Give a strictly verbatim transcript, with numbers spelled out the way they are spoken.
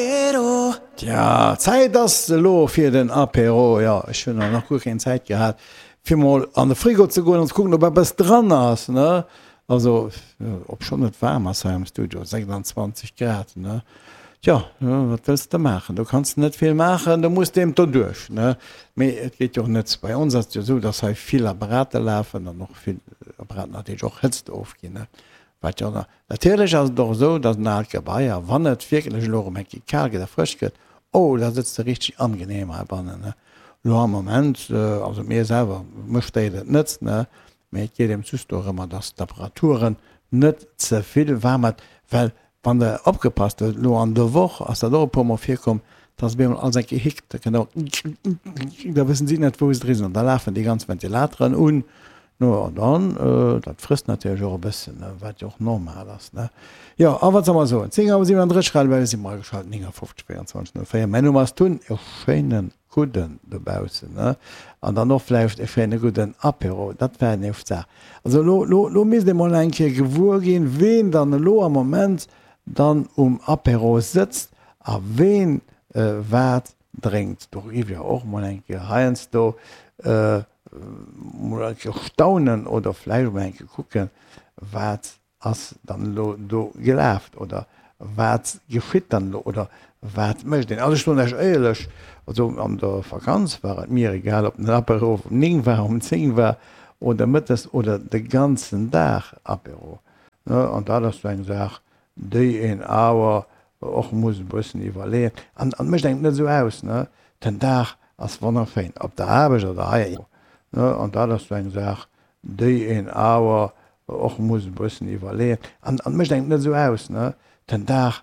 Apéro. Tja, Zäit ass elo fir den Apéro. Jo, ech hunn nach guer keng Zäit gehat, fir mol an de Frigo ze goen an ze kucken, ob eppes dran ass, ne? Also, obschonn et waarm ass hei am Studio, sechsanzwanzeg Grad, ne? Tja, wat wëlls de maachen? Do kanns de net vill maachen, do muss de eben doduerch, ne? Mee et geet jo och net. Bei ons ass et jo esou, dass hei vill Apparate lafen an och vill Apparaten natierlech och Hëtzt ofginn, ne? Wat jo natierlech ass et och esou, dass en aalt Gebai, a wann et wierklech elo erëm eng Kéier kal gëtt a frësch gëtt, oh, da sëtzt de richteg angenehm heibannen, ne? Elo am Moment, also mir selwer, mech stéiert et net, ne? Mee et geet eben just dorëmmer, dass d'Apparaturen net ze vill waarm hat, well Wann der opgepasst hutt, elo an der Woch ass dat och e puer mol virkomm, dass op eemol alles eng Kéier hickt, da kënnt och da wëssen si net wou se dri sinn an da lafen déi ganz Ventilateren un. No an dann, dat frësst natierlech och e bëssen, wat jo och normal ass, ne. Jo, a wat soll mer soen, zéng Auer siwenandrësseg, Radio Welle si mer ageschalt, néngafofzeg véierundzwanzeg null véier. Mäin Numm ass Tun, e schéine gudden dobaussen, ne, an dann och vläicht e schéine gudden Apéro, dat wär eng éischt Saach. Also elo, elo, elo misst ee mol eng Kéier gewuer ginn, ween dann elo am Moment dann um Apéro sëtzt a ween wat drénkt. Do géif ech och mol eng Kéier heiansdo mol eng Kéier staunen oder vläicht mol eng Kéier kucken, wat ass dann elo do gelaf oder wat geschitt dann elo oder wat mécht een. Also ech soen lech éierlech, also an der Vakanz war et mir egal, ob den Apéro um néng war, um zéng war oder mëttes oder de ganzen Dag Apéro. An dat ass sou eng Saach, déi een awer och muss e bëssen iwwerleeën. An et mécht engem net esou aus, ne, den Dag ass wonnerschéin, op der Aarbecht oder hei. An dat ass sou eng Saach, déi een awer och muss e bëssen iwwerleeën. An et mécht engem net esou aus, ne, den Dag.